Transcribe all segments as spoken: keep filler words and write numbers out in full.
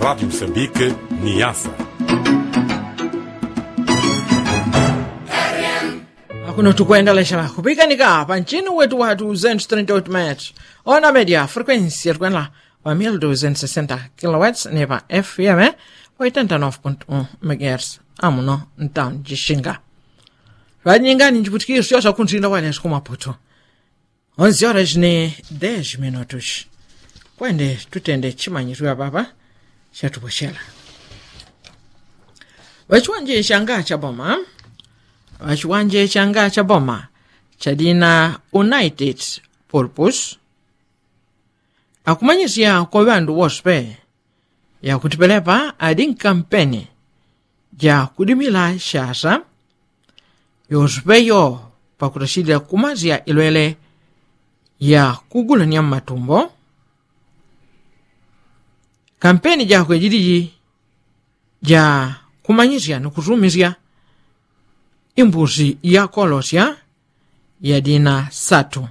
Rádio Moçambique, Niassa. Akuno tukwendalesha kupikanika pa nchini wetu wa duzentos trinta e oito metros, ona media frequência tukwenela pa mil duzentos sessenta kilowatts, ni pa F M oitenta nove ponto um megahertz amuno ntaun jixinga. Vanyingani njiputikisyo sya kuntinda wanesu ku Maputo. Onze horas ni dez minutos. Kwende tutende chimanyisyo apapa chatupochela. Ŵachiwanje changa cha boma, ŵachiwanje changa cha boma chadina United Purpose akumanyisya kwa ŵandu wose pe yakuti pelepa adi nkampeni ja kudimila shasa yose pe yo pakutachilila kumasya ilwele ya kugulanya mmatumbo. Kampeni jakwe jiliji ja kumanyisya ni kusumisya imbusi ya kolosya yadina satu.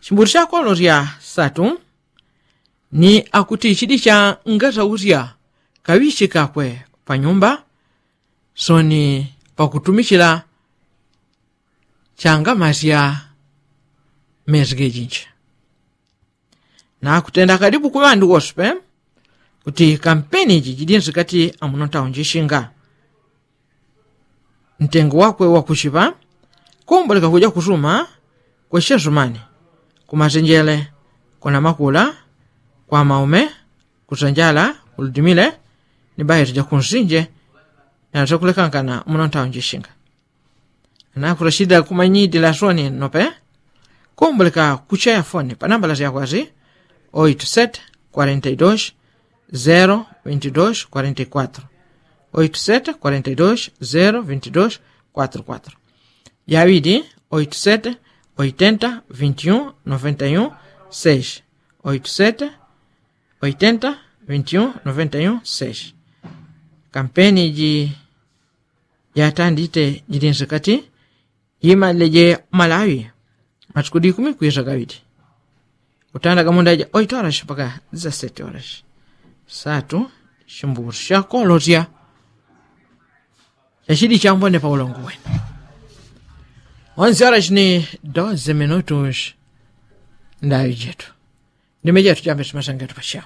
Chimbusi cha kolosya satu ni akuti chidi changasausya kaŵichi kakwe pa nyumba soni pakutumichila changamasya mesi gejinji. Nakutenda kalibu ku ŵandu wose pe kuti kampeni iji jidinsi kati amuno ntaunji shinga ntengo wakwe wakuchiŵa. Kumboleka kuja kusuma kweshe sumani kumasenjele kuna makula kwa maume kusanjala kuludimile ni bahetu ja kunsinje nalutakulekankana muno ntaunji shinga. Anakurashida kumanyidi la soni nope. Kumboleka kuchaya foni pa nambala sya kwasi oito sete quarenta e dois zero vinte e dois quarenta e quatro, oito sete quarenta e dois zero vinte e dois quarenta e quatro. Yaŵidi oito sete oitenta vinte e um noventa e um seis, oito sete oitenta vinte e um noventa e um seis. Kampeni ji jatandite jidinsi kati yimalileje malaŵi matuku dikumi kwisa gaŵidi. Kutanda gamunda ja oito horas mpaka dezasete horas. Satu chimbusi cha kolosya chachidi chambone pa ulongo wenu. Onze horas ni doze minutos. Ndaŵi jetu ndime jetu jambe simasangetu pachao.